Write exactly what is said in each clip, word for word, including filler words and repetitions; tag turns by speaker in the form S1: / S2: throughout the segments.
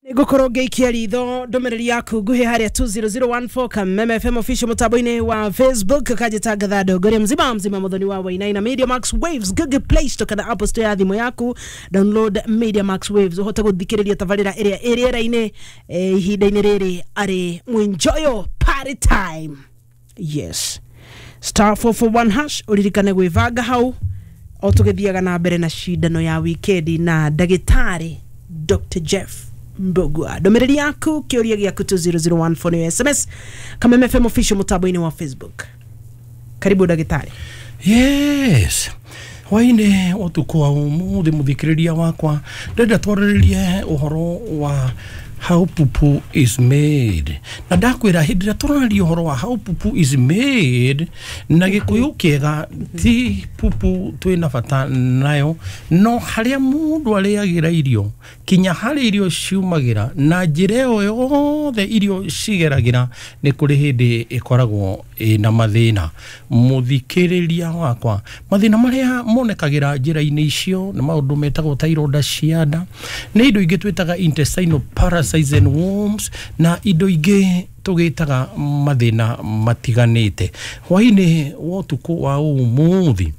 S1: Nĩngũkorwo ngĩikia ritho ndũmĩrĩri yaku nguhĩ harĩa two zero zero one four Kameme F M official mũtambo-inĩ wa Facebook. Kanjĩtangatha ndongoria mzima mzima mũthoni wa Wainaina. Media Max Waves, Google Play Store kana Apple Store ya thimũ yaku, download Media Max Waves ũhote gũthikĩrĩria tabarĩra ĩrĩa ĩ rĩera-inĩ, eh, ihinda-inĩ rĩrĩ arĩ mwinjoyo party time. Yes, star four four one hash, ũririkane gwĩbanga hau o tũgĩthiaga na mbere na cindano ya wikendi na ndagĩtarĩ Doctor Jeff Mbugua. Ndũmĩrĩri yaku, kĩũria gĩaku two zero zero one four nĩ S M S, Kameme F M official mũtambo-inĩ wa Facebook. Karibu ndagĩtarĩ.
S2: Yes, hwainĩ ũtukũ wa ũmũthĩ mũthikĩrĩria wakwa, ndĩrenda twarĩrĩrie ũhoro wa how pupu is made. Na ndakwĩra hĩndĩ ĩrĩa tũraria ũhoro wa how pupu is made na Gĩkũyũ kĩega, ti pupu twĩna bata nayo, no harĩa mũndũ arĩagĩra irio kinya harĩa irio ciumagĩra na njĩra ĩyo yothe irio cigeragĩra, nĩ kũrĩ hĩndĩ ĩkoragwo ĩna mathĩna. Mũthikĩrĩria wakwa, mathĩna marĩa monekagĩra njĩra-inĩ icio nĩ maũndũ metagwo ta ironda cia nda, nĩ indo ingĩ twĩtaga intestinal parasites and worms, na indo ingĩ tũgĩtaga mathĩna matiganĩte. Hwainĩ wa ũtukũ wa ũmũthĩ,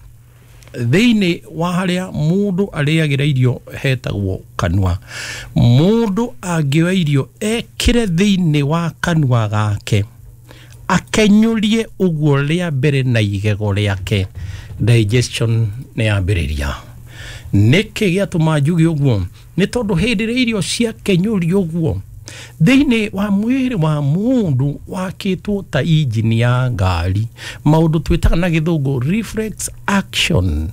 S2: thĩinĩ wa harĩa mũndũ arĩagĩra irio hetagwo kanua. Mũndũ angĩoya irio ekĩre thĩinĩ wa kanua gake, akenyũrie ũguo rĩa mbere na igego rĩake, digestion nĩ yambĩrĩria. Nĩkĩ gĩatũma njuge ũguo? Nĩ tondũ hĩndĩ ĩrĩa irio ciakenyũrio ũguo, thĩinĩ wa mwĩrĩ wa mũndũ wakĩtwo ta injini ya ngari, maũndũ twĩtaga na gĩthũngũ reflex action,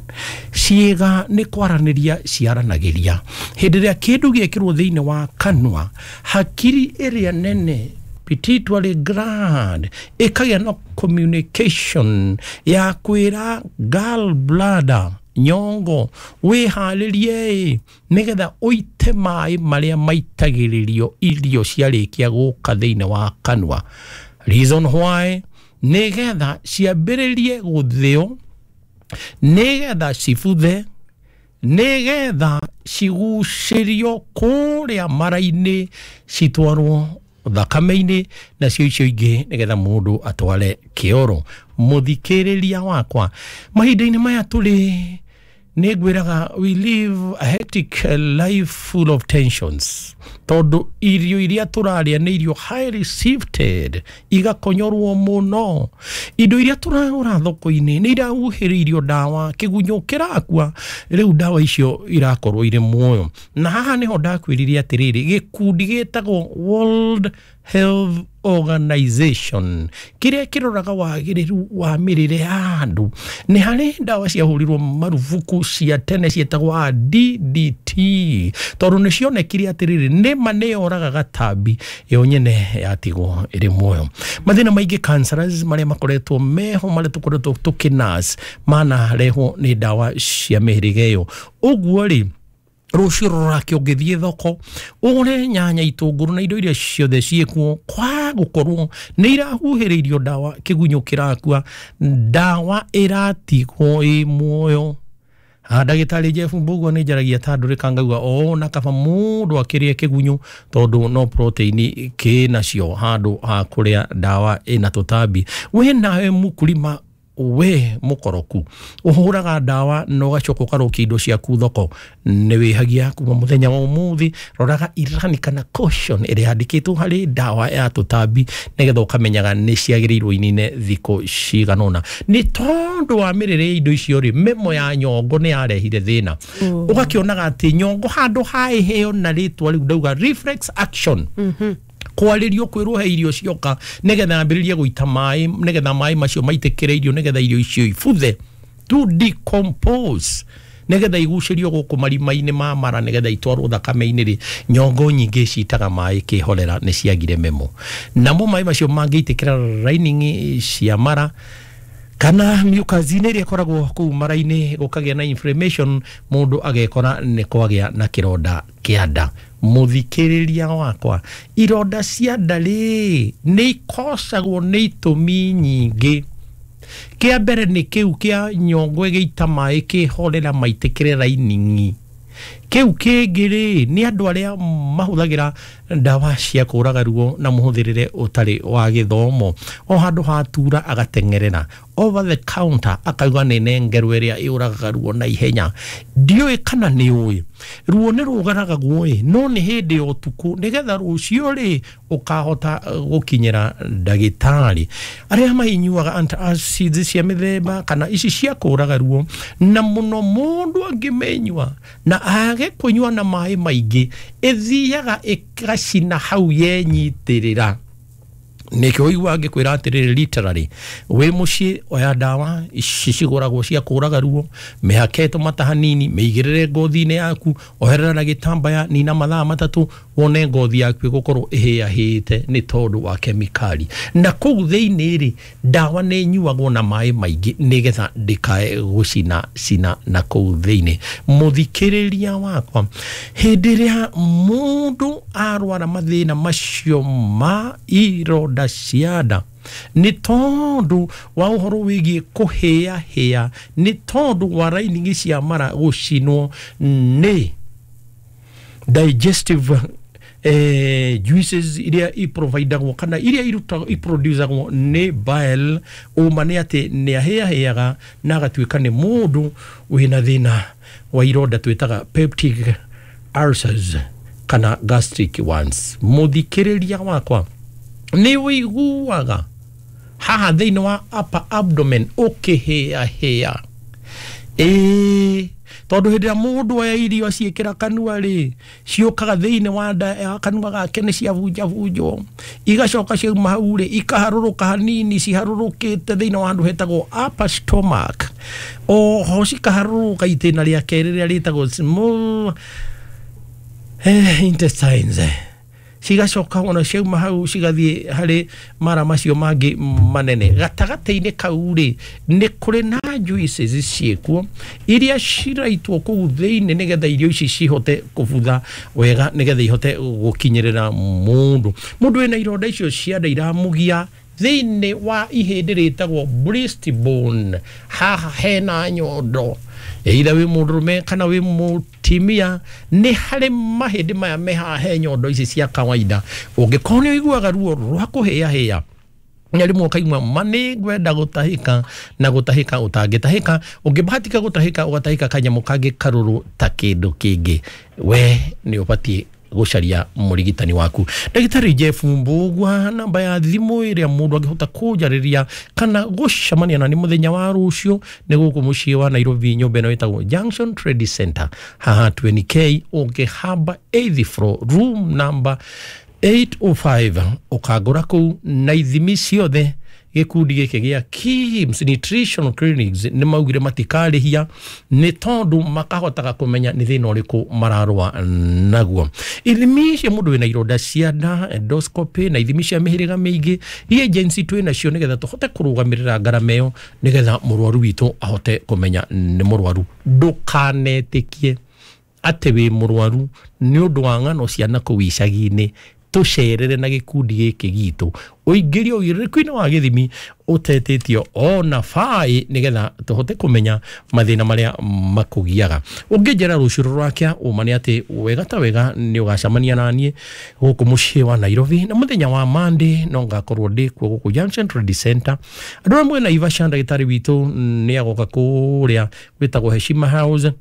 S2: ciĩga nĩ kwaranĩria ciaranagĩria. Hĩndĩ ĩrĩa kĩndũ gĩekĩrwo thĩinĩ wa kanua, hakiri ĩrĩa nene pituitary gland ĩkagĩa na communication ya kwĩra gallbladder, nyongo, wĩharĩrie nĩgetha ũite maĩ marĩa maitagĩrĩrio irio ciarĩkia gũka thĩinĩ wa kanua. Reason why, nĩgetha ciambĩrĩrie gũthĩo, nĩgetha cibuthe, nĩgetha cigucĩrio kũrĩa mara-inĩ citwarwo thakame-inĩ, nacio icio ingĩ nĩgetha mũndũ atware kĩoro. Mũthikĩrĩria wakwa, mahinda-inĩ maya tũrĩ nĩ ngwĩraga we live a hectic life full of tensions, tondũ irio iria tũrarĩa nĩ irio highly sifted, igakonyorwo mũno. Indo iria tũragũra thoko-inĩ nĩ irahuhĩrĩirio ndawa, kĩgunyũ kĩrakua, rĩu ndawa icio irakorwo irĩ muoyo. Na haha nĩho ndakwĩrire atĩrĩrĩ, gĩkundi gĩtagwo World Health Organization kĩrĩa kĩroraga wagĩrĩru wa mĩrĩre ya andũ, nĩ harĩ ndawa ciahũrirwo marubuku cia tene ciĩtagwo D D T, tondũ nĩ cionekire atĩrĩrĩ nĩma nĩyoragaga gatambi, yo nyene yatigwo ĩrĩ muoyo. Mathĩna maingĩ cancers marĩa makoretwo meho, marĩa tũkoretwo tũkĩnurse, manarehwo nĩ ndawa cia mĩhĩrĩga ĩyo. Ũguo rĩ, rũciũ rũrake ũngĩthiĩ thoko ũgũre nyanya, itũngũrũ na indo iria ciothe ciĩkuo, kwa gũkorwo nĩ irahuhĩrĩirio ndawa, kĩgunyũ kĩrakua, ndawa ĩratigwo ĩ muoyo. Ndagĩtarĩ Jeff Mbugua nĩ njaragia ta ndũrĩka ngauga o na kaba mũndũ akĩrĩe kĩgunyũ, tondũ no proteini kĩnacio handũ ha kũrĩa ndawa ĩna tũtambi. We nawe mũkulima, we mũkoroku, ũhũraga ndawa na ũgacoka ũkarũkia indo ciaku thoko, nĩ wĩhagia kuma mũthenya wa ũmũthĩ. Roraga irani kana caution ĩrĩa yandĩkĩtwo harĩ ndawa ya tũtambi, nĩgetha ũkamenyaga nĩ ciagĩrĩirwo inine thikũ cigana ũna. Nĩ tondũ wa mĩrĩre ya indo icio rĩ, mĩmo ya nyongo nĩ yarehire thĩna. Ũgakĩonaga atĩ nyongo handũ ha ĩheo na rĩtwa rĩu ndauga reflex action, kwarĩrio kwĩrwo he irio cioka nĩgetha yambĩrĩrie gũita maĩ, nĩgetha maĩ macio maitĩkĩre irio, nĩgetha irio icio ibuthe, to decompose, nĩgetha igucĩrio gũkũ marima-inĩ ma mara, nĩgetha itwarwo thakame-inĩ rĩ, nyongo nyingĩ citaga maĩ kĩhorera, nĩ ciagire memo. Namo maĩ macio mangĩitĩkĩra lining cia mara kana mucus-inĩ ĩrĩa ĩkoragwo kũu mara-inĩ, gũkagĩa na inflammation, mũndũ agekora nĩ kwagĩa na kĩronda kĩa nda. Mũthikĩrĩria wakwa, ironda cia nda rĩ nĩ ikocagwo nĩ itũmi nyingĩ. Kĩa mbere nĩ kĩu kĩa nyongo ĩgĩita maĩ kĩhorera maitĩkĩre lining. Kĩu kĩngĩ rĩ nĩ andũ arĩa mahũthagĩra ndawa cia kũraga ruo na mũhũthĩrĩre ũtarĩ wa gĩthomo. O handũ hatura agateng'erera over the counter akauga nĩ nengerwo ĩrĩa ĩũragaga ruo na ihenya. Ndiũĩ kana nĩ ũĩ ruo nĩ rũgaragagwo ĩ, no nĩ hĩndĩ ya ũtukũ nĩgetha rũciũ rĩ ũkahota gũkinyĩra ndagĩtarĩ. Arĩa mainyuaga antacids cia mĩthemba kana ici cia kũraga ruo, na mũno mũndũ angĩmenyua na age kũnyua na maĩ maingĩ, ĩthiaga ĩgacina hau yenyitĩrĩra. Nĩkĩo ũiguaga ngĩkwĩra atĩrĩrĩ, literally wĩ mũciĩ oya ndawa ici cigũragwo cia kũraga ruo, mĩhake tũmata hanini, mĩigĩrĩre ngothi-inĩ yaku, oherera na gĩtambaya, nina mathaa matatũ, wone ngothi yaku ĩgũkorwo ĩhĩahĩte nĩ tondũ wa kemikali. Na kũu thĩinĩ rĩ, ndawa nĩ ĩnyuagwo na maĩ maingĩ nĩgetha ndĩkae gũcina cina na kũu thĩinĩ. Mũthikĩrĩria wakwa, hĩndĩ ĩrĩa mũndũ arwara mathĩna macio ma ironda cia nda nĩ tondũ wa ũhoro wĩgiĩ kũhĩahĩa, nĩ tondũ wa lining cia mara gũcinwo nĩ digestive eh, juices iria iprovidagwo kana iria irutagwo iproducagwo nĩ bile, ũma nĩ atĩ nĩ ahĩahĩaga na agatuĩka nĩ mũndũ wĩna thĩna wa ironda twĩtaga peptic ulcers kana gastric ones. Mũthikĩrĩria wakwa, nĩ ũiguaga haha thĩinĩ wa upper abdomen ũkĩhĩahĩa? Ĩĩ, tondũ hĩndĩ ĩrĩa mũndũ oya irio aciĩkĩra kanua rĩ, ciũkaga thĩinĩ wa nda ya kanua gake nĩ ciabunjabunjwo, igacoka ciauma hau rĩ, ikaharũrũka hanini, ciharũrũkĩte thĩinĩ wa handũ hetagwo upper stomach, oho cikaharũrũka itĩna rĩa kerĩ rĩrĩa rĩtagwo small eh, intestines, cigacoka ona ciauma hau cigathiĩ harĩ mara macio mangĩ manene. Gatagatĩ-inĩ kau rĩ, nĩ kũrĩ na juices ciĩkuo iria ciraitwo kũu thĩinĩ nĩgetha irio ici cihote kũbutha wega, nĩgetha ihote gũkinyĩrĩra mũndũ. Mũndũ wĩna ironda icio cia nda iramũgia thĩinĩ wa ihĩndĩ rĩtagwo breastbone, haha hena nyondo, either wĩ mũndũrũme kana wĩ mũtimia, nĩ harĩ mahĩndĩ maya me haha he nyondo ici cia kawaida. Ũngĩkorwo nĩ ũiguaga ruo rwa kũhĩahĩa na rĩmwe ũkaigua ma nĩ ngwenda gũtahĩka na gũtahĩka ũtangĩtahĩka, ũngĩbahatika gũtahĩka ũgatahĩka kanyamũ kangĩ karũrũ ta kĩndũ kĩngĩ, we nĩ ũbatiĩ gũcaria mũrigitani waku. Ndagĩtarĩ Jeff Mbugua, namba ya thimũ ĩrĩa mũndũ angĩhota kũnjarĩria kana gũcemania na nĩ mũthenya wa rũciũ nĩ gũkũ mũciĩ wa Nairobi, nyũmba ĩno ĩtagwo Junction Trade Center, haha twenty K, ũngĩhamba eighth floor, room number eight oh five, ũkangũra kũu na ithimi ciothe. Gĩkundi gĩkĩ gĩa KIMS Nutrition Clinics nĩ maugire matikarĩhia nĩ tondũ makahotaga kũmenya nĩ thĩna ũrĩkũ mararũa naguo. Ithimi cia mũndũ wĩna ironda cia nda, endoscopy na ithimi cia mĩhĩrĩga mĩingĩ, reagents twĩ nacio nĩgetha tũhote kũrũgamĩrĩra ngarama ĩyo, nĩgetha mũrwaru witũ ahote kũmenya nĩ mũrwaru. Ndũkanetĩkie atĩ wĩ mũrwaru nĩ ũndũ wa ng'ano cia nakũu icagi-inĩ. Tũcerere na gĩkundi gĩkĩ gitũ, ũingĩrio ũigĩrĩrĩku-inĩ wa gĩthimi ũtetĩtio ona baĩ, nĩgetha tũhote kũmenya mathĩna marĩa makũgiaga. Ũngĩnjera rũciũ rũrakĩa, ũma nĩ atĩ wega ta wega nĩ ũgacemania na niĩ gũkũ mũciĩ wa Nairobi, na mũthenya wa Monday no ngakorwo ndĩ kuo gũkũ Junction Trade Center. Andũ arĩa mwĩ Naivasha, ndagĩtarĩ witũ nĩ agoka kũrĩa gwĩtagwo Heshima House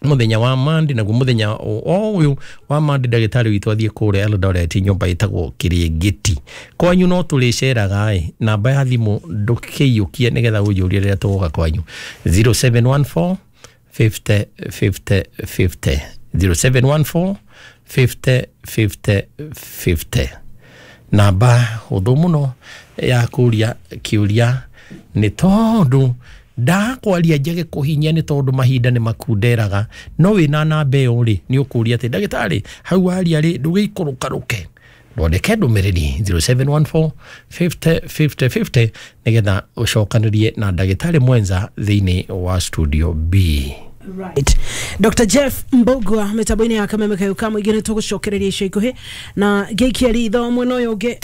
S2: mũthenya wa Monday, naguo mũthenya o ũyũ wa Monday ndagĩtarĩ witũ athiĩ kũrĩa Eldoret, nyũmba ĩtagwo Kĩrĩngĩti. Kwanyu no tũrĩceraga ĩ, namba ya thimũ ndũkĩiyũkie nĩgetha ũnjũrie rĩrĩa tũgoka kwanyu, zero seven one four fifty fifty fifty, zero seven one four fifty fifty fifty. Namba hũthũ mũno ya kũria kĩũria nĩ tondũ ndakwaria njage kũhinyia nĩ tondũ mahinda nĩ makunderaga, no wĩna namba ĩyo rĩ nĩ ũkũria atĩ ndagĩtarĩ hau waria rĩ ndũgĩikũrũkarũke, ndwandĩke ndũmĩrĩri zero seven one four fifty fifty fifty nĩgetha ũcokanĩrie na ndagĩtarĩ mwenza thĩinĩ wa studio B.
S1: Right. Doctor Jeff Mbugua mĩtambo-inĩ ya Kameme Kayũ ka mũingĩ nĩ tũgũcokereria ica ikuhĩ na ngĩikia ritho mwena ũyũ ũngĩ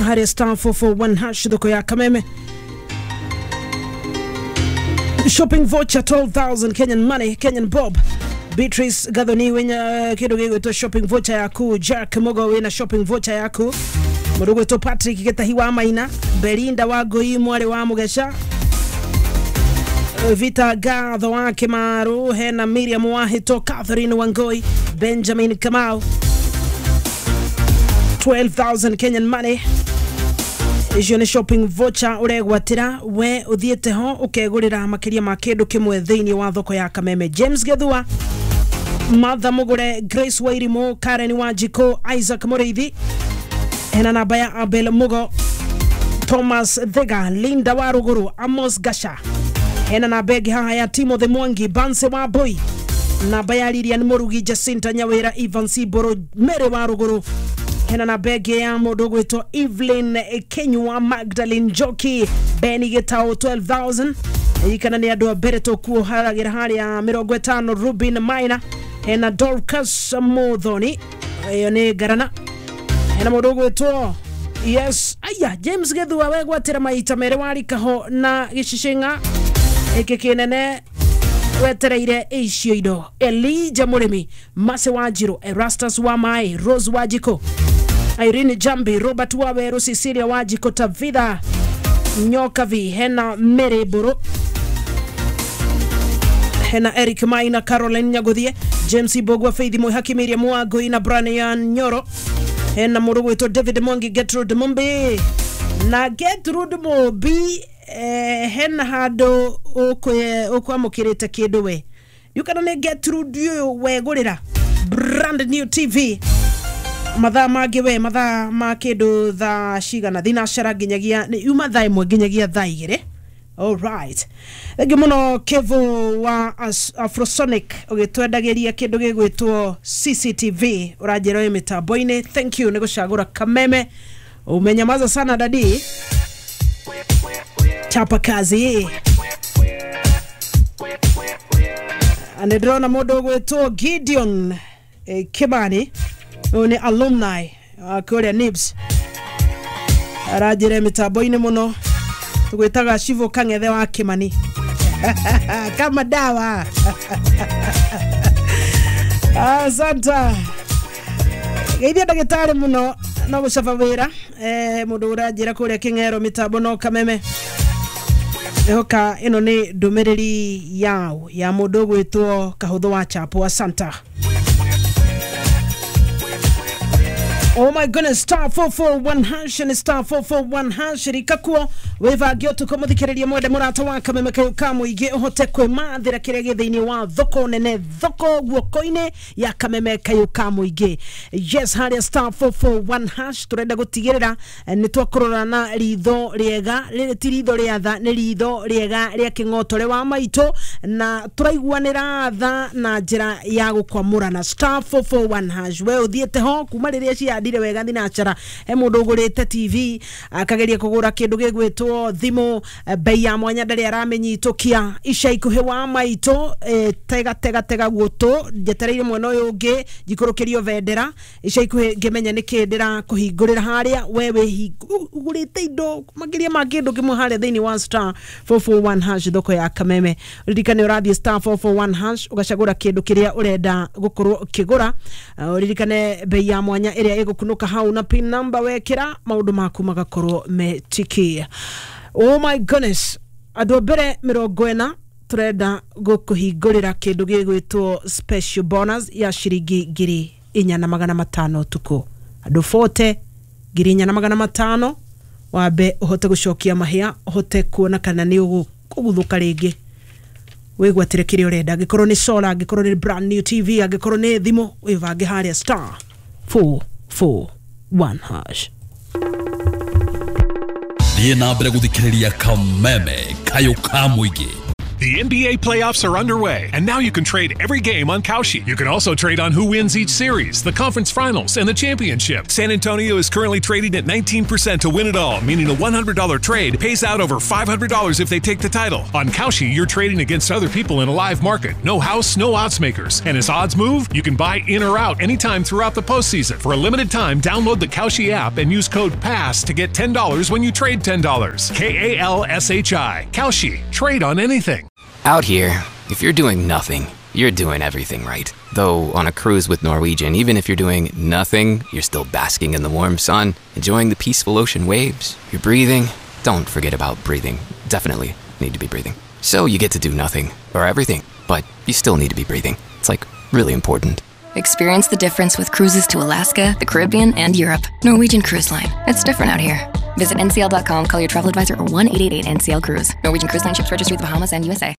S1: harĩa star four four one hash thoko ya Kameme. Shopping voucher twelve thousand Kenyan money, Kenyan bob. Beatrice Gathoni wĩna kĩndũ gĩgwĩtwo shopping voucher yaku. Jack Mugo wĩna shopping voucher yaku. Mũndũ ũgwĩtwo Patrick Gĩtahi wa Maina, Belinda wa Ngũi mwarĩ wa Mũgeca, Vita Gatho wa Kĩmaru, hena Miriam wa Hito, Catherine Wangoi, Benjamin Kamau. twelve thousand Kenyan money. Icio nĩ shopping voucher ũregwatĩra we ũthiĩte ho ũkegũrĩra makĩria ma kĩndũ kĩmwe thĩinĩ wa thoko ya Kameme. James Gethua, Martha Mugure, Grace Wairimu, Karen Wanjiko, Isaac Mũrĩithi, hena namba ya Abel Mugo, Thomas Thega, Linda Waruguru, Amos Gasha, hena namba ĩngĩ haha ya Timothy Mwangi, Banse wa Boy, namba ya Lilian Murugi, Jacinta Nyawira, Ivan Siboro, Mary Waruguru, hena namba ĩngĩ ya mũndũ ũgwĩtwo Evelyn Kenyua, Magdalene Njoki, Benny Gitau twelve thousand. Ririkana nĩ andũ a mbere tũkuoharagĩra harĩa mĩrongo ĩtano. Rubin Maina, hena Dorcas Muthoni, ĩyo nĩ ngarana. Hena mũndũ ũgwĩtwo yes aya James Gethua wegwatĩra maita merĩ warikaho na gĩcicinga ĩkĩ kĩnene wetereire icio indo. Elijah Mũrĩmi, Mase Wanjiru, Erastus wa Mai, Rose Wajiko, Irene Jambi, Robert Waweru, Cecilia Wajiko, Tavitha Nyokavi, hena Mary Buru, hena Eric Maina, Caroline Nyaguthie, James Ibogwa, Faith Mwihaki, Miriam Wangui na Brian Nyoro, hena mũndũ ũgwĩtwo David Mwangi, Gertrude Mumbi na Gertrude Mumbi eh, hena handũ ũkwamũkĩrĩte kĩndũ we ndiũkana nĩ Gertrude ũyũ wegũrĩra brand new T V mathaa mangĩ we mathaa ma kĩndũ thaa cigana thinacara nginyagia nĩ yuma thaa ĩmwe nginyagia thaa igĩrĩ. Alright, thengiũ mũno Kevo wa Afrosonic ũgĩtwendagĩria kĩndũ gĩgwĩtwo C C T V ũranjĩra wĩ mĩtambo-inĩ. Thank you nĩ gũcagũra Kameme. Umenyamaza sana dadi, chapa kazi. Nĩ ndĩrona mũndũ ũgwĩtwo Gideon eh, Kimani, ũyũ nĩ alumni wa kũrĩa Nibs, aranjĩra mĩtambo-inĩ mũno. Tũgwĩtaga Shivo Kang'ethe wa Kimani kama dawa. Asante geithia ndagĩtarĩ mũno no gũcaba wĩra eh, mũndũ ũranjĩra kũrĩa Kĩng'ero mĩtambo no Kameme. Ehoka ĩno nĩ ndũmĩrĩri yao ya mũndũ ũgwĩtwo Kahũthũ wa Chapo. Asante. Oh my goodness, star four four one hash and star four four one hash rikakuo wivange utuko muthikiriria mwende murata wa Kameme kayu ka muingi uhote kwimathira kiria gi thiini wa thoko nene thoko guoko-ini ya Kameme kayu ka muingi. Yes, haria star four four one hash turenda gutigirira ni twakurora na ritho riega riri ti ritho ria tha ni ritho riega ria king'otore wa maitu na turaiguanira tha na njira ya gukwamurana. Star four four one hash we uthiete ho kuma riria cia ndire wega thinacara he mundu ugurite T V akageria kugura kindu gigwitwo thimu bei ya mwanya ndari aramenyitukia ica ikuhi wa maitu e, tega tega tega gutu njetereire mwena uyu ungi njikurukirio vendera ica ikuhi ngimenya niki ndira kuhingurira haria we we ugurite indo makiria ma kindu kimwe haria thiini wa star four four one hash thoko ya Kameme. Uririkane urathie star four four one hash ugacagura kindu kiria urenda gukorwo ukigura. Uririkane bei ya mwanya iria igukunuka hau na pin number wekira maundu maku magakorwo metiki. Oh my goodness, andu mbere mirongo ena turenda gukuhingurira kindu gigwitwo special bonus ya ciringi ngiri inya na magana matano tuku andu forty ngiri inya na magana matano wambe uhote gucokia mahia uhote kuona kana ni uguthuka ringi wigwatire kiria urenda angikorwo ni solar angikorwo ni brand new T V angikorwo ni thimu wivange haria star four four one hash.
S3: Thiĩ na mbere gũthikĩrĩria Kameme kayũ ka mũingĩ.
S4: The N B A playoffs are underway, and now you can trade every game on Kalshi. You can also trade on who wins each series, the conference finals, and the championship. San Antonio is currently trading at nineteen percent to win it all, meaning a one hundred dollar trade pays out over five hundred dollars if they take the title. On Kalshi, you're trading against other people in a live market. No house, no odds makers. And as odds move, you can buy in or out anytime throughout the postseason. For a limited time, download the Kalshi app and use code PASS to get ten dollars when you trade ten dollars. K A L S H I. Kalshi. Trade on anything.
S5: Out here, if you're doing nothing, You're doing everything right. Though on a cruise with Norwegian, even if you're doing nothing, you're still basking in the warm sun, enjoying the peaceful ocean waves. You're breathing. Don't forget about breathing. Definitely need to be breathing. So you get to do nothing or everything, but you still need to be breathing. It's like really important.
S6: Experience the difference with cruises to Alaska, the Caribbean, and Europe. Norwegian Cruise Line. It's different out here. Visit N C L dot com, call your travel advisor, or one eight eight eight N C L Cruise. Norwegian Cruise Line ships registry the Bahamas and U S A.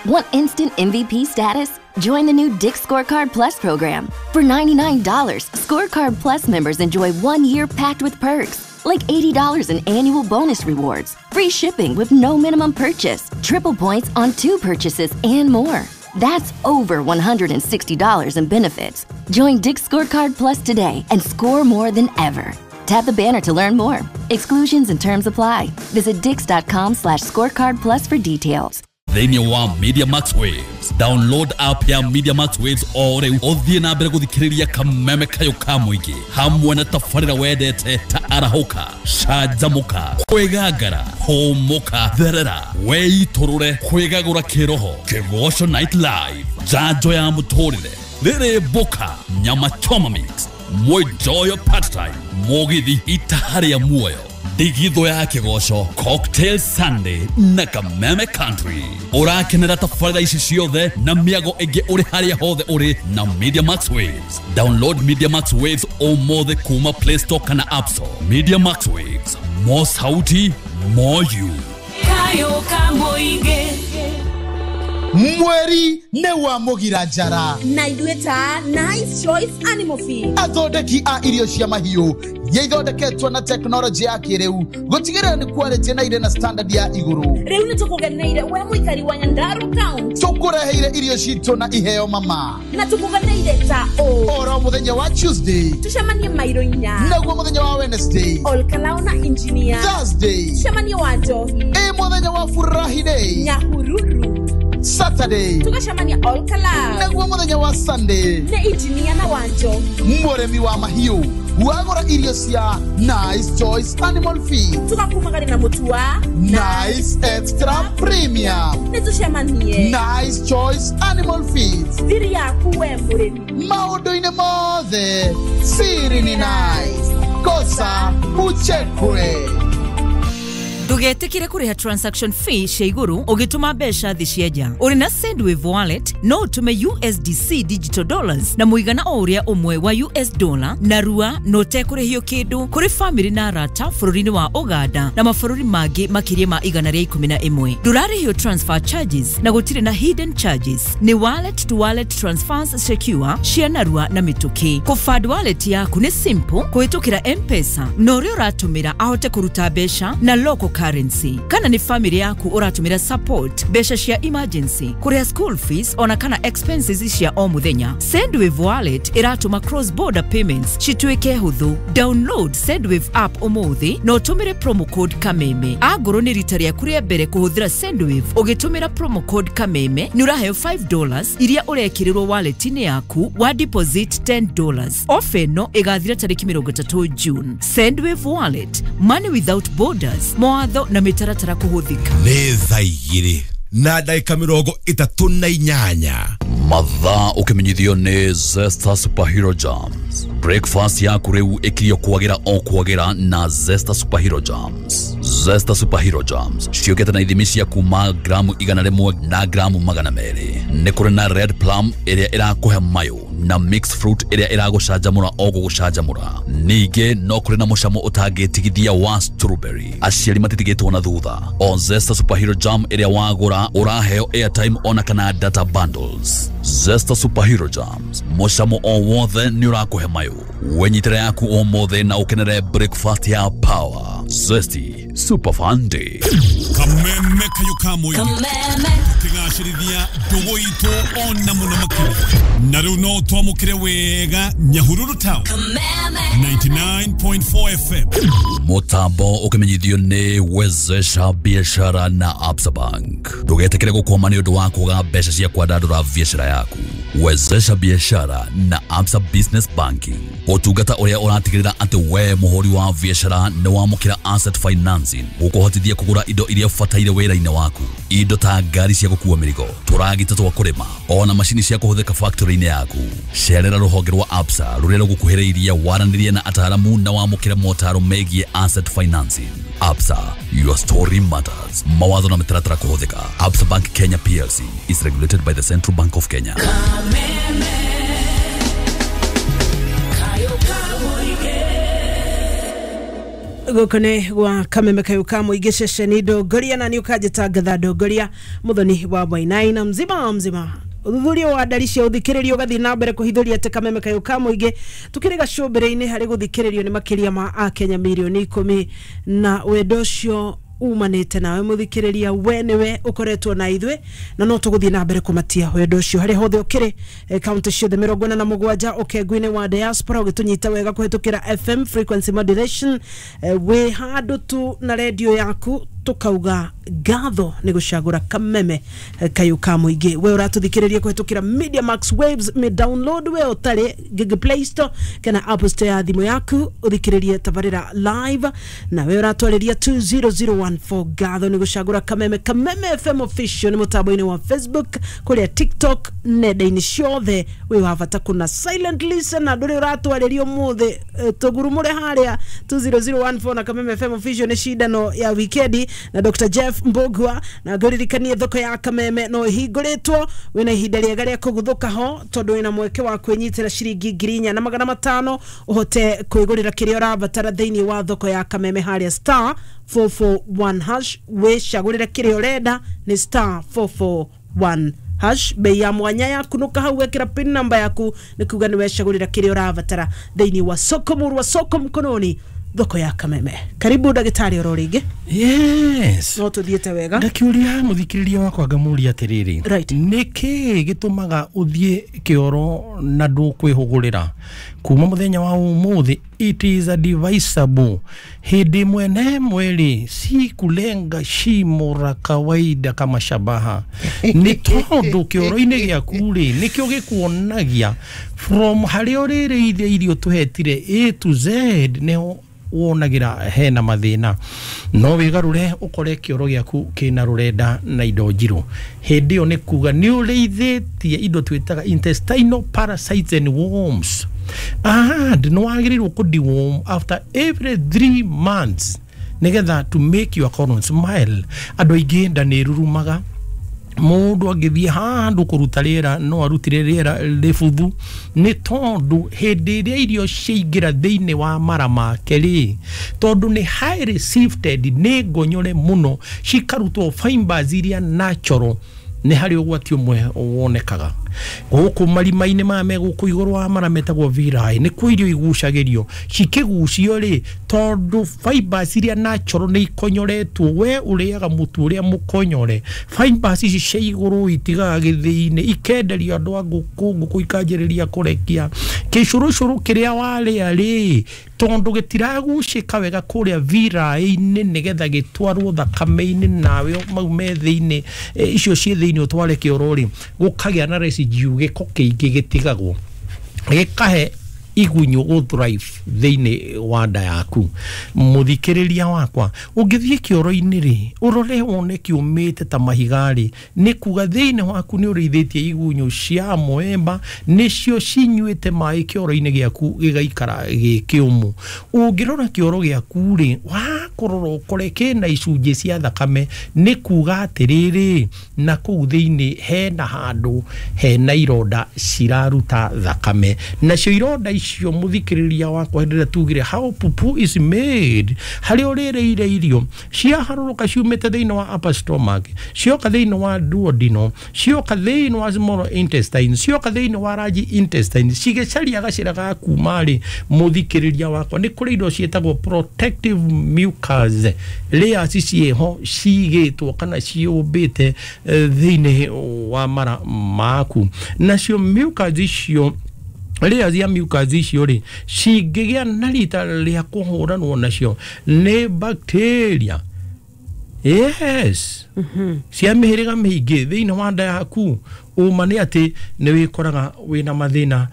S7: Want instant M V P status? Join the new Dick's Scorecard Plus program. For ninety-nine dollars, Scorecard Plus members enjoy one year packed with perks, like eighty dollars in annual bonus rewards, free shipping with no minimum purchase, triple points on two purchases, and more. That's over one hundred sixty dollars in benefits. Join Dick's Scorecard Plus today and score more than ever. Tap the banner to learn more. Exclusions and terms apply. Visit dicks.com slash scorecard plus for details.
S3: Thĩinĩ wa Media Max Waves. Download app ya Media Max Waves o rĩu ũthiĩ na mbere gũthikĩrĩria kameme kayũ ka mũingĩ hamwe na tabarĩra wendete ta arahũka, canjamũka, kwĩgangara, hũmũka, therera, weitũrũre, kwĩgagũra kĩroho, Kĩgoco Night Live, njanjo ya mũtũrĩre, rĩrĩ mboka, nyama choma mix, mwenjoyo part time, mũgithi itaharĩa muoyo, ndigitho ya kĩgoco, Cocktail Sunday na Kameme Country. Ũrakenera tabarĩra ici ciothe na mĩago ĩngĩ ũrĩ harĩa hothe ũrĩ na Media Max Waves. Download Media Max Waves ũmũthĩ kuma Play Store kana App Store. Media Max Waves, more sauti, more you.
S8: Kayo kamoige.
S9: Mweri nĩ wa mũgira njara
S10: na ithuĩ ta Nice Choice Animal Feed,
S9: athondeki a irio cia mahiũ iria ithondeketwo na tekinoronjĩ ya kĩrĩu gũtigĩrĩra nĩ quality na irĩ na standard ya igũrũ.
S10: Rĩu nĩ tũkũgeneire we mũikari wa Nyandarua County,
S9: tũkũreheire irio citũ na iheo mama,
S10: na tũkũgeneire ta ũ
S9: oro mũthenya wa Tuesday
S10: tũcemanie mairo inya,
S9: naguo mũthenya wa Wednesday
S10: Olkalao na engineer,
S9: Thursday
S10: tũcemanie wa Njohi,
S9: ĩ mũthenya wa Furahi Day
S10: Nyahururu,
S9: Saturday
S10: tugacemania Olkalao,
S9: naguo mũthenya wa Sunday
S10: nĩ engineer na Wanjohi.
S9: Mũrĩmi wa mahiũ wagũra irio cia Nice Choice Animal Feed
S10: tugakumagari na mũtu wa
S9: Nice Extra Premium,
S10: nĩ tũcemanie
S9: Nice Choice Animal Feed,
S10: thiri yaku we mũrĩmi
S9: maũndũ-inĩ mothe siri ni nice, kosa uchekwe.
S11: Ndũgetĩkĩre kũrĩha transaction fee cia igũrũ ũgĩtũma mbeca thĩ cia nja. Ũrĩ na Sendwave wallet no ũtũme U S D C digital dollars na mũigana o ũrĩa ũmwe wa U S dollar na rua na ũtekũrĩhio kĩndũ kũrĩ famĩlĩ na arata bũrũri-inĩ wa Uganda na mabũrũri mangĩ makĩria ma igana rĩa ikũmi na ĩmwe. Ndũrarĩhio transfer charges na gũtirĩ na hidden charges. Nĩ wallet to wallet transfers secure cia narua na mĩtũkĩ. Kũfund wallet yaku nĩ simple kũhĩtũkĩra M-Pesa na ũrĩa ũratũmĩra ahote kũruta mbeca na local currency. Kana ni family yaku ũratũmĩra support mbeca cia emergency, kũrĩha school fees ona kana expenses cia o mũthenya. Sendwave wallet ĩratũma cross border payments cituĩke hũthũ. Download Sendwave app ũmũthĩ na ũtũmĩre promo code Kameme. Angorwo nĩ rita rĩaku rĩa mbere kũhũthĩra Sendwave ũgĩtũmĩra promo code Kameme nĩ ũraheo five dollars iria ũrekĩrĩrwo wallet-inĩ yaku wa deposit ten dollars. Ofa ĩno ĩgathira tarĩki mĩrongo ĩtatũ June. Sendwave wallet, money without borders. Mawatho na mĩtaratara kũhũthĩka.
S12: Nĩ thaa igĩrĩ na ndagĩka mĩrongo ĩtatũ na inyanya.
S3: Mathaa ũkĩmenyithio nĩ Zesta Superhero Jams. Breakfast yaku rĩu ĩkirio kwagĩra o kwagĩra na Zesta Superhero Jams. Zesta Superhero Jams ciũkĩte na ithimi cia kuma gramu igana rĩmwe na gramu magana merĩ. Nĩ kũrĩ na red plum ĩrĩa ĩrakũhe mayũ na mixed fruit ĩrĩa ĩragũcanjamũra o gũgũcanjamũra. Ningĩ no kũrĩ na mũcamo ũtangĩtigithia wa strawberry. Aciari matitigĩtwo na thutha. O Zesta Superhero Jam ĩrĩa wagũra ũraheo airtime ona kana data bundles. Zesta Superhero Jams, mũcamo o wothe nĩ ũrakũhe mayũ. Wenyitĩre yaku ũmũthĩ na ũkenere breakfast ya power. Zesty Super Fun Day.
S4: Kameme kayo kamwe. Kameme. Tukigacĩrithia ndũgũ itũ ona mũno makĩria. Na rĩu no twamũkĩre wega Nyahururu Town. Kameme. ninety-nine point four F M.
S3: Mũtambo ũkĩmenyithio nĩ Wezesha Biashara na Absa Bank. Ndũgetĩkĩre gũkwama nĩ ũndũ wa kwaga mbeca cia kwandandũra biashara yaku. Wezesha Biashara na Absa Business Banking. Ũtungata ũrĩa ũratigĩrĩra atĩ we mũhũri wa biashara nĩ wamũkĩra asset finance financing gũkũhotithia kũgũra indo iria ũbataire wĩra-inĩ waku, indo ta ngari cia gũkua mĩrigo, tũragita twa kũrĩma, ona macini cia kũhũthĩka factory-inĩ yaku. Cerera rũhonge rwa Absa rũrĩa rũgũkuhĩrĩirie, waranĩrie na ataaramu na wamũkĩre motaro megiĩ asset financing. Absa, your story matters. Mawatho na mĩtaratara kũhũthĩka. Absa Bank Kenya P L C is regulated by the Central Bank of Kenya.
S1: Gũkũ nĩ gwa Kameme Kayũ ka Mũingĩ, ceceni Ndongoria, na nĩ ũkanjĩta Ngatha Ndongoria, mũthoni wa Wainaina mzima mzima. Ũthuthuria wa ndari cia ũthikĩrĩrio ũgathiĩ na mbere kũhithũria atĩ Kameme Kayũ ka Mũingĩ tũkĩrĩ gacũmbĩrĩ-inĩ harĩ gũthikĩrĩrio nĩ makĩria ma Akenya mirioni ikũmi, na wendo ũcio umanĩte nawe mũthikĩrĩria, we nĩwe ũkoretwo na ithuĩ, na no tũgũthiĩ na mbere kũmatia wendo ũcio harĩa hothe ũkĩrĩ, kaunti ciothe mĩrongo ĩna na mũgwanja, ũkengu-inĩ wa diaspora ũgĩtũnyita wega kũhĩtũkĩra F M frequency modulation, wĩ handũ tu na redio yaku tukauga ngatho nĩ gũcagũra Kameme Kayũ ka Mũingĩ. We ũratũthikĩrĩria kũhĩtũkĩra Media Max Waves, me download we ũtarĩ Google Play Store kana Apple Store ya thimũ yaku ũthikĩrĩrie tabarĩra live, na we ũratwarĩria two zero zero one four. Ngatho nĩ gũcagũra Kameme. Kameme F M official nĩ mũtambo-inĩ wa Facebook, kũrĩa TikTok, nenda-inĩ ciothe wĩ wa bata kuna silent listener ndũrĩ ũratwarĩria ũmũthĩ, tũgurumũre harĩa two zero zero one four na Kameme F M official nĩ cindano ya wikendi na Doctor Jeff Mbugua, na ngũririkanie thoko ya Kameme no ĩhingũrĩtwo, wĩna ihinda rĩega rĩa kũguthũka ho tondũ wĩna mweke wa kwĩnyitĩra ciringi ngiri inya na magana matano ũhote kwĩgũrĩra kĩrĩa ũrabatara thĩinĩ wa thoko ya Kameme harĩa star four four one hash, wĩcagũrĩre kĩrĩa ũrenda nĩ star four four one hash. Bei ya mwanya yaku nuka hau wekĩra pin number yaku nĩ kuga nĩ wecagũrĩra kĩrĩa ũrabatara thĩinĩ wa soko murwa, soko mkononi, thoko ya Kameme. Karibu ndagĩtarĩ oro rĩngĩ.
S2: Yes,
S1: no tũthiĩte wega.
S2: Ndakiũria mũthikĩrĩria wakwa ngamũria atĩrĩrĩ, nĩkĩ gĩtũmaga ũthiĩ kĩoro na ndũkwĩhũgũrĩra kuma mũthenya wa ũmũthĩ? It is advisable hĩndĩ ĩmwe na ĩmwe rĩ, si kulenga shimo la kawaida kama shabaha, nĩ tondũ kĩoro-inĩ gĩaku rĩ nĩkĩo gĩkuonagia from harĩa ũrĩrĩithia irio tũhetire A to Z, nĩho wonagĩra hena mathĩna. No wĩgarũre ũkore kĩoro gĩaku kĩna rũrenda na indo njirũ, hĩndĩ ĩyo nĩ kuga nĩ ũrĩithĩtie indo twĩtaga intestinal parasites and worms, and nĩ wagĩrĩirwo kũ deworm after every three months nĩgetha to make your colon smile. Andũ aingĩ nda nĩ ĩrurumaga, mũndũ angĩthiĩ handũ kũruta rĩera no arutire rĩera rĩbuthu, nĩ tondũ hĩndĩ ĩrĩa irio ciaingĩra thĩinĩ wa mara make rĩ, tondũ nĩ highly sifted, nĩ ngonyore mũno, cikarutwo fibers iria natural, nĩ harĩ ũgwati ũmwe wonekaga gũkũ marima-inĩ maya me gũkũ igũrũ wa mara metagwo villi, nĩ kuo irio igucagĩrio, cikĩgucio rĩ, tondũ fibers iria natural nĩ ikonyoretwo, we ũrĩaga mũtu ũrĩa mũkonyore, fibers ici cia igũrũ itigaga gĩthĩi-inĩ, ikenderio andũ a ngũkũ, ngũkũ ikanjĩrĩria kũrekia kĩcũrũcũrũ kĩrĩa warĩa rĩ, tondũ gĩtiragucĩka wega kũrĩa villi-inĩ nĩgetha gĩtwarwo thakame-inĩ, nawe mau me thĩinĩ, icio ciĩ thĩinĩ ũtware kĩoro rĩ, gũkagĩa na residue, gĩko kĩingĩ gĩtigagwo gĩkahe igunyũ gũ thrive thĩinĩ wa nda yaku. Mũthikĩrĩria wakwa, ũngĩthiĩ kĩoro-inĩ rĩ, ũrore wone kĩũmĩte ta mahiga rĩ, nĩ kuga thĩinĩ waku nĩ ũrĩithĩtie igunyũ cia moemba, nĩcio cinyuĩte maĩ kĩoro-inĩ gĩaku gĩgaikara gĩ kĩũmũ. Ũngĩrora kĩoro gĩaku rĩ, wakũrora ũkore kĩna icunjĩ cia thakame, nĩ kuga atĩrĩrĩ, na kũu thĩinĩ hena handũ hena ironda ciraruta thakame, nacio ironda icio mũthikĩrĩria wakwa hĩndĩ ĩrĩa tugire how pupu is made, harĩa ũrĩrĩire irio ciaharũrũka ciumĩte thĩinĩ wa upper stomach, cioka thĩinĩ wa duodenum, cioka thĩinĩ wa small intestine, cioka thĩinĩ wa large intestine, cigĩcaria gacĩra ga kuma rĩ, mũthikĩrĩria wakwa nĩ kũrĩ indo ciĩtagwo protective mucus layers ciĩho cigĩtwo kana ciũmbĩte thĩinĩ wa mara maku, nacio mucus icio layers ya mucus icio rĩ cingĩgĩa na rita rĩa kũhũranwo nacio nĩ bacteria, yes, cia mĩhĩrĩga mĩingĩ thĩinĩ wa nda yaku, ũma nĩ atĩ nĩ wĩkoraga wĩna mathĩna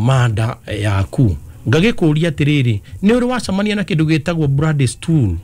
S2: ma nda yaku. Ngagĩkũria atĩrĩrĩ, nĩ ũrĩ wacemania na kĩndũ gĩtagwo blood stool?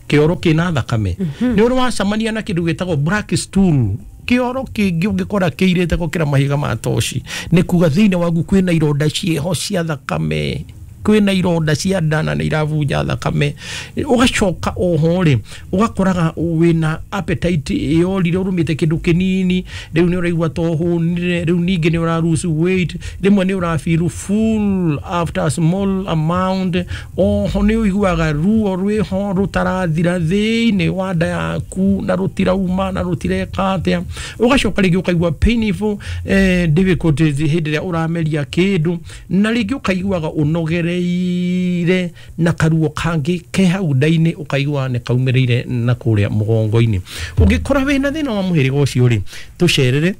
S2: Kĩoro kĩna thakame. Nĩ ũrĩ wacemania na kĩndũ gĩtagwo black stool, kĩoro kĩngĩ ũngĩkora kĩirĩte gũkĩra mahiga ma toci, nĩ kuga thĩinĩ waku kwĩna ironda ciĩho cia thakame, kwĩna ironda cia nda na nĩ irabunja thakame. Ũgacoka oho rĩ, ũgakoraga wĩna appetite yorire, ũrũmĩte kĩndũ kĩnini, rĩu nĩ ũraigua ta ũhũnire, rĩu ningĩ nĩ ũra lose weight, rĩmwe nĩ ũra feel full after a small amount. Oho nĩ ũiguaga ruo rwĩho rũtarathira thĩinĩ wa nda yaku na rũtirauma na rũtireka atĩa. Ũgacoka rĩngĩ ũkaigua painful eh, difficulties hĩndĩ ĩrĩa ũrameria kĩndũ, na rĩngĩ ũkaiguaga ũnogere ire na karuo kangĩ ke hau nda-inĩ, ũkaigua nĩ kaumĩrĩire na kũrĩa mũgongo-inĩ. Ũngĩkora wĩna thĩna wa mũhĩrĩga ũcio rĩ, tũcerere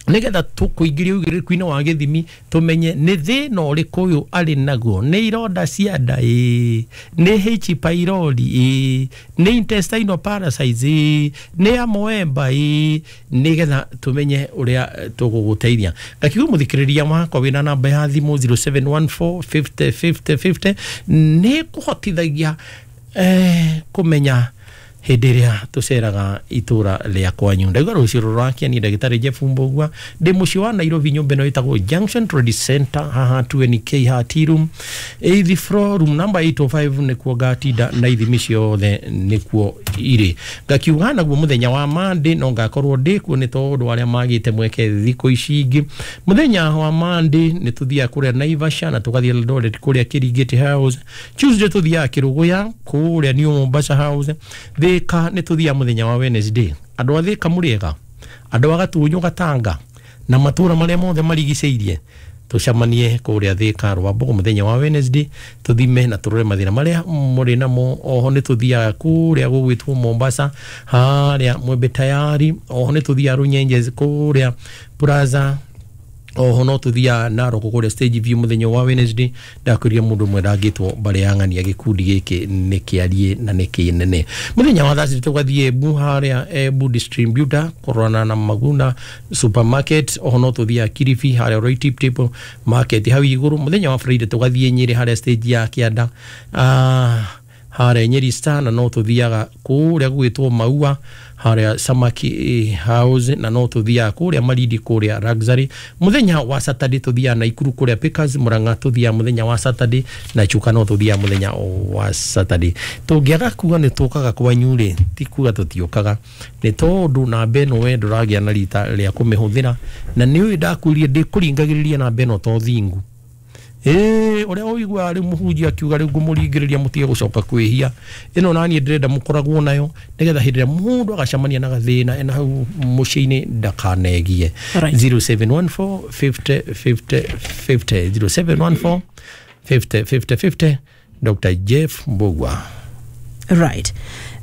S2: nĩgetha tũkũingĩria ũigĩrĩrĩku-inĩ wa gĩthimi, tũmenye nĩ thĩna ũrĩkũ ũyũ arĩ naguo, nĩ ironda cia nda ĩ, nĩ H pylori ĩ, nĩ intestinal parasites ĩ, nĩ amoeba ĩ, nĩgetha tũmenye ũrĩa tũgũgũteithia. Ngakiuga mũthikĩrĩria wakwa wĩna namba ya thimũ zero seven one four fifty fifty fifty nĩ kũhotithagia eh, kũmenya hĩndĩ ĩrĩa tũceraga itũra rĩa kwanyu. Ndauga rũciũ rũrakia ni ndagĩtarĩ Jeff Mbugua, ndĩ mũciĩ wa Nairobi, nyũmba ĩno ĩtagwo Junction Trade Center, haha two N K Hati room, eighth floor, room number eight oh five, nĩkuo ngatinda na ithimi ciothe nĩkuo irĩ. Ngakiuga naguo mũthenya wa Monday no ngakorwo ndĩ kuo, nĩ tondũ arĩa magĩte mweke thikũ ici ingĩ. Mũthenya wa Monday nĩ tũthiaga kũrĩa Naivasha na tũgathiĩ Eldoret kũrĩa Kĩringĩti House. Tuesday tũthiaga Kĩrũgũya kũrĩa New Mombasa House. Thika nĩ tũthiaga mũthenya wa Wednesday. Andũ a Thika mũrĩega, andũ a Gatunyũ, Gatanga na matũra marĩa mothe marigicĩirie, tũcemanie kũrĩa Thika Rwambogo mũthenya wa Wednesday, tũthime na tũrore mathĩna marĩa mũrĩ namo. Oho nĩ tũthiaga kũrĩa gũgwĩtwo Mombasa harĩa Mwembe Tayari. Oho nĩ tũthiaga Runyenjes kũrĩa Plaza. Oho no tũthiaga Narok kũrĩa Stage View mũthenya wa Wednesday. Ndakwĩrire mũndũ ũmwe ndangĩtwo mbarĩ ya ng'ania, gĩkundi gĩkĩ nĩ kĩarie na nĩ kĩnene. Mũthenya wa Thursday tũgathiĩ Embu harĩa Embu Distributor kũrorana na Maguna Supermarket. Oho no tũthiaga Kilifi harĩa Roy Tip Tip Market hau igũrũ. Mũthenya wa Friday tũgathiĩ Nyĩrĩ harĩa stage ya Kĩanda, ah, harĩa Nyeri Star, na no tũthiaga kũrĩa gwĩtwo Maua harĩa Samaki House, na no tũthiaga kũrĩa Malindi kũrĩa Luxury. Mũthenya wa Saturday tũthiaga Naikuru kũrĩa Pickers. Murang'a tũthiaga mũthenya wa Saturday, na Chuka no tũthiaga mũthenya wa Saturday. Tũngĩaga kuga nĩ tũkaga kwanyu rĩ, ti kuga tũtiũkaga, nĩ tondũ namba ĩno we ndũragĩa na rita rĩa kũmĩhũthĩra, na nĩ ũĩ ndakwĩrire ndĩkũringagĩrĩria namba ĩno to thingu. Ĩĩ, ũrĩa ũiguaga rĩu mũhunjia akiuga rĩu ngũmũringĩrĩria mũtige gũcoka kwĩhia, ĩno naniĩ ndĩrenda mũkoragwo nayo, nĩgetha hĩndĩ ĩrĩa mũndũ agacemania na gathĩna ena hau mũciĩ-inĩ ndakanegie.
S1: Alright.
S2: zero seven one four fifty fifty fifty, zero seven one four fifty fifty fifty, Doctor Jeff Mbugua.
S1: Right.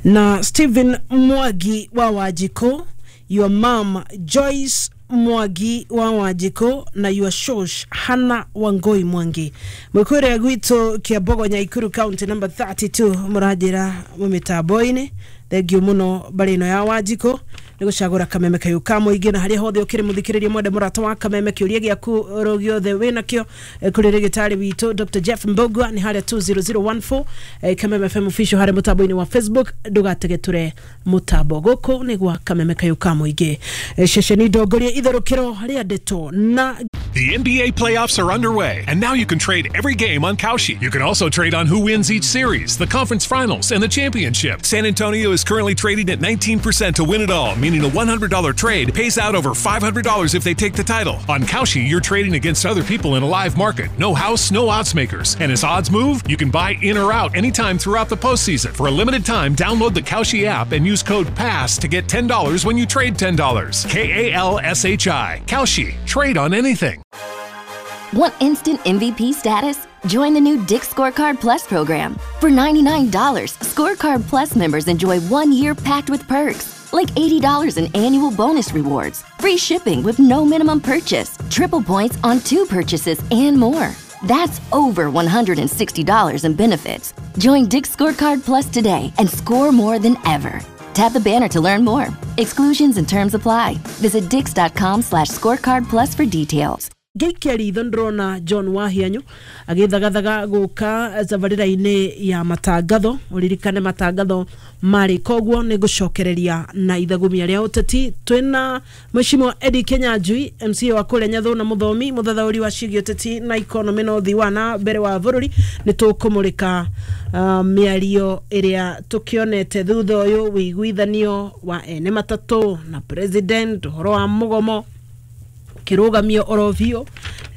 S1: Na Stephen Mwagi wa Wajiko, your mom Joyce Mwagi wa Wajiko na your shosh Hannah Wangoi Mwangi, mwikure gwitũ Kiambogo Nyaikuru county number thirty-two, mũranjĩra mũmĩtambo-inĩ. Thengiũ mũno mbarĩ ĩno ya Wanjikũ nĩ gũcagũra Kameme kayũ ka mũingĩ, na harĩa hothe ũkĩrĩ mũthikĩrĩria mwende mũrata wa Kameme, kĩũria gĩaku oro gĩothe wĩnakĩo kũrĩ rĩgĩtarĩ witũ Doctor Jeff Mbugua nĩ harĩa two zero zero one four, Kameme F M official harĩa mũtambo-inĩ wa Facebook. Ndũgategetũre mũtambo, gũkũ nĩ gwa Kameme kayũ ka mũingĩ, ceceni ndongorie itherũkĩro rĩa ndeto na
S4: The N B A playoffs are underway, and now you can trade every game on Kalshi. You can also trade on who wins each series, the conference finals, and the championship. San Antonio is currently trading at nineteen percent to win it all, meaning a one hundred dollar trade pays out over five hundred dollars if they take the title. On Kalshi, you're trading against other people in a live market. No house, no odds makers. And as odds move, you can buy in or out anytime throughout the postseason. For a limited time, download the Kalshi app and use code PASS to get ten dollars when you trade ten dollars. K A L S H I. Kalshi. Trade on anything.
S7: Want instant M V P status? Join the new Dick's Scorecard Plus program. For ninety-nine dollars, Scorecard Plus members enjoy one year packed with perks, like eighty dollars in annual bonus rewards, free shipping with no minimum purchase, triple points on two purchases, and more. That's over one hundred sixty dollars in benefits. Join Dick's Scorecard Plus today and score more than ever. Tap the banner to learn more. Exclusions and terms apply. Visit dicks dot com slash scorecard plus for details.
S1: Ngĩikia ritho ndĩrona John Wahianyu agĩthagathaga gũka tabarĩra-inĩ ya matangatho. Ũririkane matangatho marĩ koguo nĩ ngũcokereria na ithagumia rĩa ũteti. Twĩna Mheshimiwa Eddie Kenyanjui, M C A wa kũrĩa Nyathũ na mũthomi mũthathaũri wa ciĩgiĩ ũteti na economy na ũthii wa na mbere wa bũrũri. Nĩ tũkũmũrĩka uh, mĩario ĩrĩa tũkĩonete thutha ũyũ, wĩiguithanio wa ene matatũ na president, ũhoro wa mũgomo kirugamio oro biũ,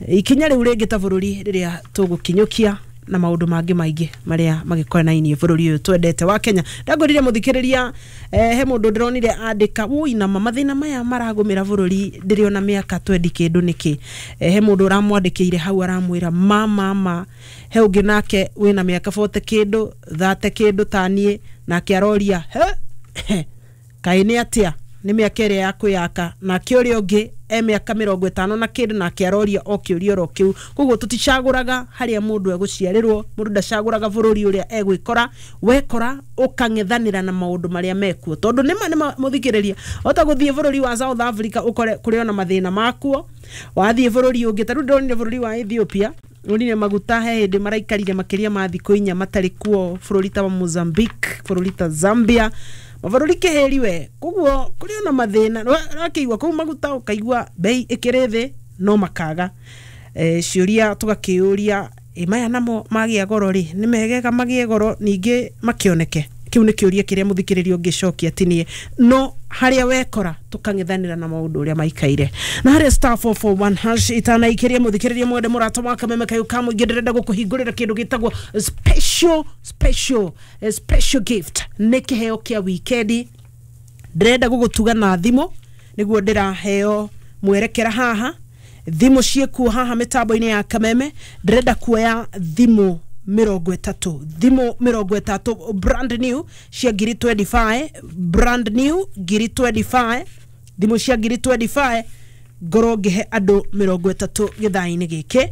S1: ikinya rĩu rĩngĩ ta bũrũri rĩrĩa tũgũkinyũkia na maũndũ mangĩ maingĩ marĩa magĩkonainie bũrũri ũyũ twendete wa Kenya. Ndangorire mũthikĩrĩria, eh, he mũndũ ndĩronire andĩka woi na mathĩna maya maragũmĩra bũrũri ndĩrĩona mĩaka twendi kĩndũ nĩkĩ. Eh, he mũndũ ũramwandĩkĩire hau aramwĩra ma mama, he ũngĩ nake wĩna mĩaka forty kĩndũ thate kĩndũ taniĩ nake aroria he kaĩ nĩ atĩa nĩ mĩaka ĩrĩa ya kwĩyaka, nake ũrĩa ũngĩ e mĩaka mĩrongo ĩtano na kĩndũ nake aroria o kĩũria oro kĩu. Koguo tũticagũraga harĩa mũndũ egũciarĩrwo, mũndũ ndacagũraga bũrũri ũrĩa egwĩkora, wekora ũkang'ethanĩra na maũndũ marĩa mekuo, tondũ nĩma nĩma mũthikĩrĩria ota gũthiĩ bũrũri wa South Africa ũkore kũrĩ ona mathĩna makuo, wathiĩ bũrũri ũngĩ ta rĩu ndĩronire bũrũri wa Ethiopia onire maguta he hĩndĩ maraikarire makĩria ma thikũ inya matarĩ kuo, bũrũri ta wa Mozambique, bũrũri ta Zambia, mabũrũri kĩhĩri we. Koguo kũrĩ ona mathĩna ũrakĩigua kũu maguta ũkaigua bei ĩkĩrĩ thĩ no makaga. E, ciũria tũgakĩũria ĩ maya namo magĩa goro rĩ nĩ megega magĩe goro ningĩ makĩoneke. Kĩu nĩ kĩũria kĩrĩa mũthikĩrĩria ũngĩcokia tinie, no harĩa wekora tũkang'ethanĩra na maũndũ ũrĩa maikaire. Na harĩa star four four one hash itanaikĩria mũthikĩrĩria mwende mũrata wa Kameme kayũ ka mũingĩ, ndĩrenda gũkũhingũrĩra kĩndũ gĩtagwo special special special gift. Nĩ kĩheo kĩa wikendi, ndĩrenda gũgũtuga na thimũ nĩguo ndĩraheo mwerekera haha. Thimũ ciĩkuo haha mĩtambo-inĩ ya Kameme, ndĩrenda kuoya thimũ mĩrongo ĩtatũ, thimũ mĩrongo ĩtatũ brand new cia ngiri twenty-five, brand new ngiri twenty-five, thimũ cia ngiri twenty-five ngorwo ngĩhe andũ mĩrongo ĩtatũ gĩthaa-inĩ gĩkĩ.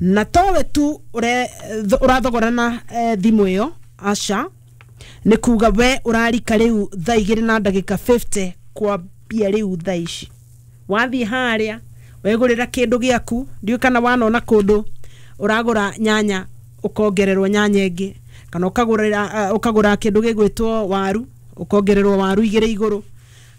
S1: Na towe tu ũrathogorana eh, thimũ ĩyo aca, nĩ kuga we ũrarika rĩu thaa igĩrĩ na ndagĩka fifty kwambia rĩu thaa ici. Wathiĩ harĩa wegũrĩra kĩndũ gĩaku, ndiũĩ kana wanona kũndũ ũragũra nyanya ukongererwo nyanya ĩngĩ, kana ũkagũra ũkagũra kĩndũ gĩgwĩtwo waru ukongererwo waru igĩrĩ igũrũ,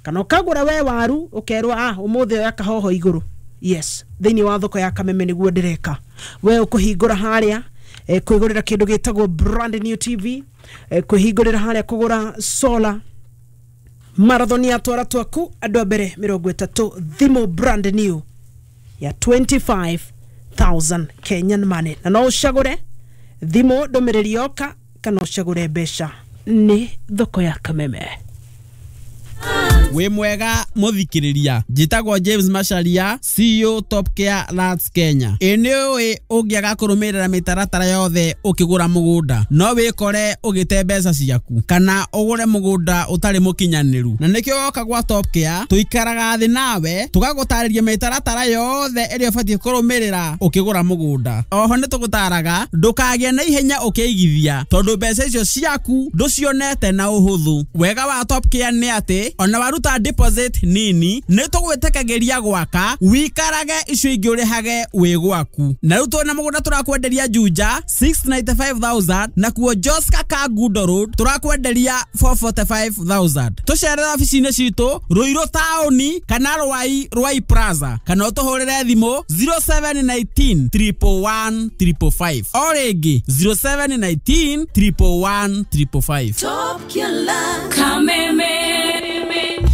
S1: kana ũkagũra we waru ũkerwo ah ũmũthĩ oya kahoho igũrũ. Yes, thĩinĩ wa thoko ya Kameme nĩguo ndĩreka. We ũkũhingũra harĩa eh, kwĩgũrĩra kĩndũ gĩtagwo brand new T V, eh, kwĩhingũrĩra harĩa kũgũra solar marathon ya twara twaku andũ a mbere mĩrongo ĩtatũ, thimũ brand new ya twenty-five thousand Kenyan money. Na no ũcagũre thimũ ndũmĩrĩri yoka kana ũcagũre mbeca. Nĩ thoko ya Kameme.
S13: Wĩ mwega mũthikĩrĩria, njĩtagwo James Macharia, C E O Top Care Lands Kenya. Ĩ nĩ ũĩ ũngĩaga kũrũmĩrĩra mĩtaratara yothe ũkĩgũra mũgũnda no wĩkore ũgĩte mbeca ciaku kana ũgũre mũgũnda ũtarĩ mũkinyanĩru. Na nĩkĩo woka gwa Top Care tũikaraga thĩ nawe tũgagũtarĩria mĩtaratara yothe ĩrĩa ũbatiĩ kũrũmĩrĩra ũkĩgũra mũgũnda. Oho nĩ tũgũtaraga ndũkagĩe na ihenya ũkĩigithia tondũ mbeca icio ciaku ndũcionete na ũhũthũ. Wega wa Top Care nĩ atĩ ona waruta deposit nini nĩ tũgwĩtĩkagĩria gwaka wikarage icio ingĩ ũrĩhage wĩ gwaku. Na rĩu twĩna mũgũnda tũrakwenderia Juja six ninety-five thousand na kuo Joska Kangundo Road tũrakwenderia four forty-five thousand. Tũcerere obici-inĩ citũ Ruiru taũni kana Rwai Rwai Plaza kana ũtũhũrĩre thimũ zero seven nineteen triple one triple five. O rĩngĩ zero seven nineteen triple one triple five.
S8: Top Killer Kameme.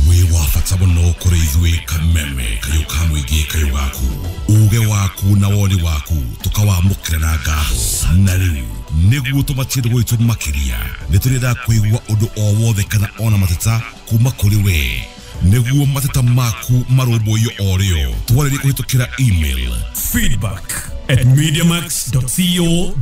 S12: Wĩ wa bata mũno kũrĩ ithuĩ Kameme kayũ ka mũingĩ kayũ gaku, uge waku na woni waku tũkawamũkĩra na ngatho. Na rĩu nĩguo tũmatie gwitũ makĩria nĩ tũrenda kũigua ũndũ o wothe kana ona mateta kuma kũrĩ we, nĩguo mateta maku marũmbũiyo o rĩo. Twarĩrie kũhĩtũkĩra email
S14: feedback at mediamax dot co